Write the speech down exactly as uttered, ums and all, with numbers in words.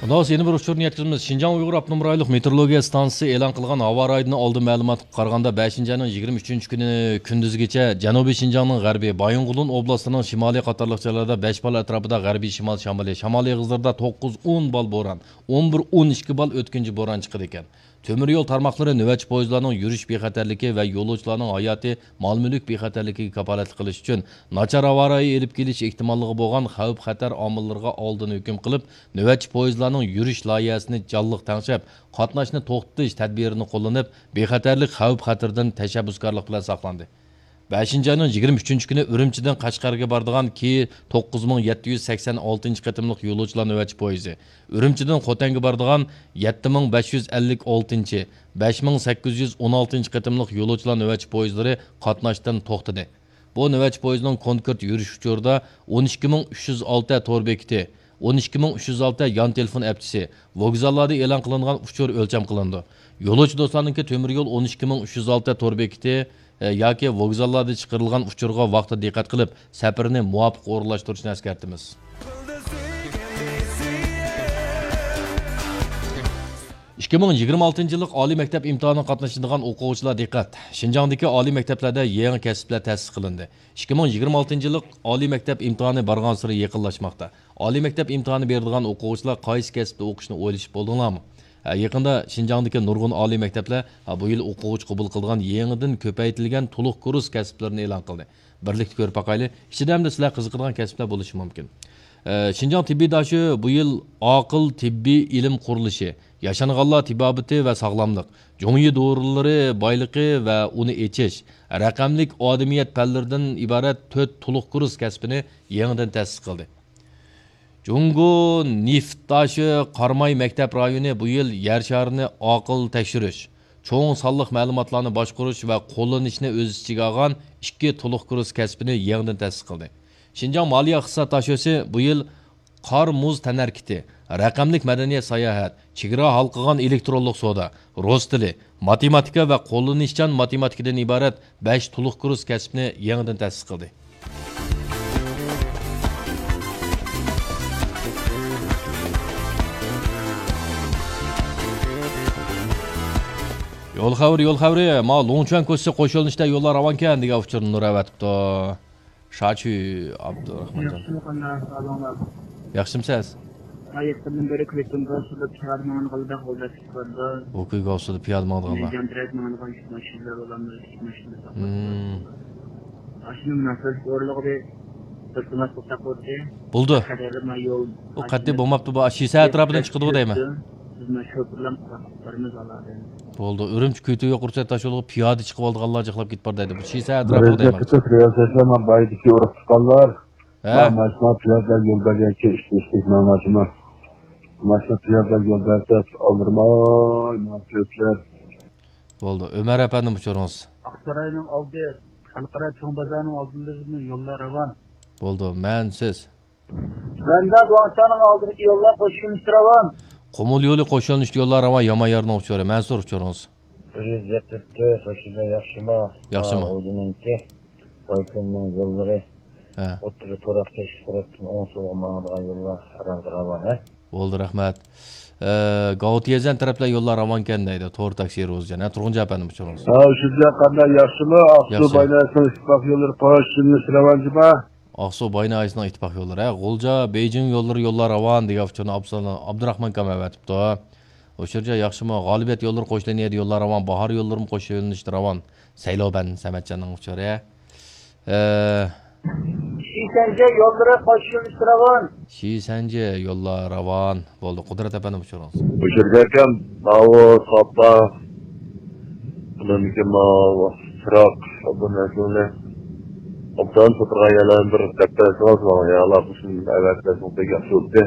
خۇداس يەنە بىر ئۇچۇرنى يەتكۈزىمىز. شىنجاڭ ئۇيغۇر ئاپتونوم رايونلۇق مېتېئورولوگىيە ئىستانسىسى ئېلان قىلغان ھاۋا رايىدىن ئالدىن مەلۇماتقا قارىغاندا، بەشىنچى ئاينىڭ يىگىرمە ئۈچىنچى كۈنى كۈندۈزگىچە جەنۇبىي شىنجاڭنىڭ غەربىي بايىنغولىن ئوبلاستىنىڭ شىمالى قاتارلىق جايلاردا بەش بال ئەتراپىدا غەربىي شىمال شامىلى، شامال ئېغىزلىرىدا توققۇز ئون بال بوران، ئون بىر ئون ئىككى بال ئۆتكۈنچى بوران چىقىدىكەن. تۆمۈر يول تارماقلىرى نۆۋەتچى پويىزلارنىڭ يۈرۈش بىخەتەرلىكى ۋە يولۇچىلارنىڭ ھاياتى، مال-مۈلۈك بىخەتەرلىكىگە كاپالەتلىك قىلىش ئۈچۈن، ناچار ھاۋا رايى ئېلىپ كېلىش ئېھتىماللىقى بولغان خەۋپ-خەتەر ئامىللىرىغا ئالدىن ھۆكۈم قىلىپ، نۆۋەتچى پويىزلارنىڭ يۈرۈش لايىھەسىنى جانلىق تەڭشەپ، قاتناشنى توختىتىش تەدبىرىنى قوللىنىپ، بىخەتەرلىك خەۋپ-خەتىرىدىن تەشەببۇسكارلىق بىلەن ساقلاندى. بەشىنچى ئاينىڭ يىگىرمە ئۈچىنچى كۈنى ئۈرۈمچىدىن قەشقەرگە بارىدىغان كېي توققۇز مىڭ يەتتە يۈز سەكسەن ئالتىنچى قېتىملىق يولۇچىلار نۆۋەتچى پويىزى، ئۈرۈمچىدىن خوتەنگە بارىدىغان يەتتە مىڭ بەش يۈز ئەللىك ئالتىنچى، بەش مىڭ سەككىز يۈز ئون ئالتىنچى قېتىملىق يولۇچىلار نۆۋەتچى پويىزلىرى قاتناشتىن توختىدى. بۇ نۆۋەتچى پويىزنىڭ كونكرېت يۈرۈش ئۇچۇرىدا ئون ئىككى مىڭ ئۈچ يۈز ئالتە تور بېكىتى، ئون ئىككى مىڭ ئۈچ يۈز ئالتە يان تېلېفون ئەپچىسى، ۋوگزاللاردا ئېلان قىلىنغان ئۇچۇر ئۆلچەم قىلىنىدۇ. يولۇچى دوستلارنىڭكى تۆمۈر يول ئون ئىككى مىڭ ئۈچ يۈز ئالتە تور بېكىتى، ئە، ياكى ۋوگزاللاردا چىقىرىلغان ئۇچۇرغا ۋاقتىدا دىققەت قىلىپ، سەپىرىنى مۇۋاپىق ئورۇنلاشتۇرۇشنى ئەسكەرتىمىز. ئىككى مىڭ يىگىرمە ئالتىنچى يىللىق ئالىي مەكتەپ ئىمتىھانىغا قاتنىشىدىغان ئوقۇغۇچىلار دىققەت! شىنجاڭدىكى ئالىي مەكتەپلەردە يېڭى كەسىپلەر تەسىس قىلىندى. ئىككى مىڭ يىگىرمە ئالتىنچى يىللىق ئالىي مەكتەپ ئىمتىھانى بارغانسېرى يېقىنلاشماقتا. ئالىي مەكتەپ ئىمتىھانى بېرىدىغان ئوقۇغۇچىلار قايسى كەسىپتە ئوقۇشنى ئويلىشىپ بولدۇڭلارمۇ؟ ھە، يېقىندا شىنجاڭدىكى نۇرغۇن ئالىي مەكتەپلەر، ھە، بۇ يىل ئوقۇغۇچى قوبۇل قىلىدىغان يېڭىدىن كۆپەيتىلگەن تولۇق كۇرس كەسىپلىرىنى ئېلان قىلدى. بىرلىكتە كۆرۈپ باقايلى. ئىچىدە ئەمدى سىلەر قىزىقىدىغان كەسىپلەر بولۇشى مۇمكىن. ئە، شىنجاڭ تېببىي داشۆ بۇ يىل ئاقىل تېببىي ئىلىم قۇرۇلۇشى، ياشانغانلار تېبابىتى ۋە ساغلاملىق، جۇڭيى دورىلىرى بايلىقى ۋە ئۇنى ئېچىش، رەقەملىك ئادىمىيەت پەنلىرىدىن ئىبارەت تۆت تولۇق كۇرس كەسپىنى يېڭىدىن تەسىس قىلدى. جۇڭگو نېفىت داشۆ قاراماي مەكتەپ رايونى بۇ يىل يەر شارىنى ئاقىل تەكشۈرۈش، چوڭ سانلىق مەلۇماتلارنى باشقۇرۇش ۋە قوللىنىشنى ئۆز ئىچىگە ئالغان ئىككى تولۇق كۇرس كەسپىنى يېڭىدىن تەسىس قىلدى. شىنجاڭ مالىيە ئىقتىساد داشۆسى بۇ يىل قار مۇز تەنھەرىكىتى، رەقەملىك مەدەنىيەت ساياھەت، چېگرا ھالقىغان ئېلېكترونلۇق سودا، رۇس تىلى، ماتېماتىكا ۋە قوللىنىشچان ماتېماتىكىدىن ئىبارەت بەش تولۇق كۇرس كەسىپنى يېڭىدىن تەسىس قىلدى. يول خەۋىرى، يول خەۋىرى، ما لۇڭچۈەن كوچىسى قوش يۆنىلىشتە يوللار راۋانكەن دېگەن ئۇچۇرنى نۇر ئەۋەتىپتۇ. شاچۈ ئابدۇراخمانجان. ياخشىمۇ، قانداق ئەھۋالىڭلار؟ ياخشىمۇسىز؟ ھاياتتىن بېرى كۆيتۇڭغا سۇدا پىيادە ماڭغانلىقىدا غول دەپ چىقىرىدۇ. ئۇ كۆيگە سۇدا پىيادە ماڭىدىغانلار. جان تىرەك ماڭىدىغان كىچىك ماشىنىلار بولامدۇ، كىچىك ماشىنىلار. مم. ئاشۇنى مۇناسىۋەتلىك ئورۇنلىغۇدى. بىلتىماس قىلساق بولدى. بولدى. قەدەردە ما يول. ئۇ قەتئىي بولماپتۇ، بۇ شىسە ئەتراپىدىن چىقىدىغۇ دەيمەن. بىز ما شوپۇرلام قىلىپ بارىمىز ئالادىن. بولدى. ئۈرۈمچى كۆيتۈڭ يوقۇرچە تاشيولىغا پىيادە چىقىۋالىدىغانلار جىقلاپ كېتىپ بار دەيدۇ. بۇ شىسە ئەتراپىغا دەيمەن. رىياسەتلەر ما بايدىكى ئۇرۇق تۇغقانلار. ھە. ما ماشىنا پىيادىلەر يول بەرگەنكى ئىشتە ئىشتە ماڭاچما. ماشىنا پىيادىلەر يول بەرسە ئالدىرىماي ماڭا كۆرسىلەر. بولدى. ئۆمەر ئەپەندىم ئۇچۇرىڭىز. ئاقساراينىڭ ئالدى، خەلقئارا چوڭ بازارنىڭ ئالدىدا يوللار راۋان. بولدى. مەن سىز. مەندە گۇاڭشاڭنىڭ ئالدىدىكى يوللار قوشۇلمىسى راۋان. قۇمۇل يولى قوشۇلمىسى يوللار راۋان، يامان يارنىڭ ئۇچۇرى. مەنسۇر ئۇچۇرىڭىز. بىر يۈز يەتتە تۆت، قوشۇلما ياخشىما؟ ياخشىما. ھا، ئۇزۇنىڭكى. بايكۆلنىڭ يوللىرى ھە. ئوتتۇرا تۇراق تەكشى تەرەپتىن ئوڭ سولغا ماڭىدىغان يوللار ھەرھالدا راۋان، ھە؟ بولدى، رەھمەت. ئە، گاۋتىيەزەن تەرەپلەر يوللار راۋانكەن دەيدۇ، تور تاكسى روزىجان. ھە، تۇرغۇنجان ئەپەندىم ئۇچۇرىڭىز. ھە، شۇجا قانداق، ياخشىمۇ؟ ئاقسۇ ياخشى. بايناسىنىڭ ئىتتىپاق يوللىرى قوشۇلمىسى راۋانجىما؟ ئاقسۇ بايناسىنىڭ ئىتتىپاق يوللىرى، ھە، غۇلجا، بېيجىڭ يوللىرى يوللار راۋان دېگەن ئۇچۇرنى ئابدۇسالام، ئابدۇراخمان ئاكام ئەۋەتىپتۇ. ئۇچۇرجان ياخشىمۇ؟ غالىبىيەت يوللىرى قوشۇلىنىدۇ يوللار راۋان، باھار يوللىرىمۇ قوشۇلۇنۇشتا راۋان. سەيلوبەن سەمەتجاننىڭ ئۇچۇرى. ئە، شىسەنجى يوللىرى قوشۇلۇش راۋان. شىسەنجى يوللار راۋان. بولدى، قۇدرەت ئەپەندىم ئۇچۇرىڭىز. ئۇچۇرجان ئاكام، ماۋۇ ساپا، ئۇنىڭدىكى ماۋۇ چىراغ، بۇ نەرسىلەرنى ئوبدان ساتىدىغان يەرلەرنى بىر دەپ بەرسىڭىز ماڭا، يا ئالاقىسىنى ئەۋەتسەڭىز بەك ياخشى بولاتتى.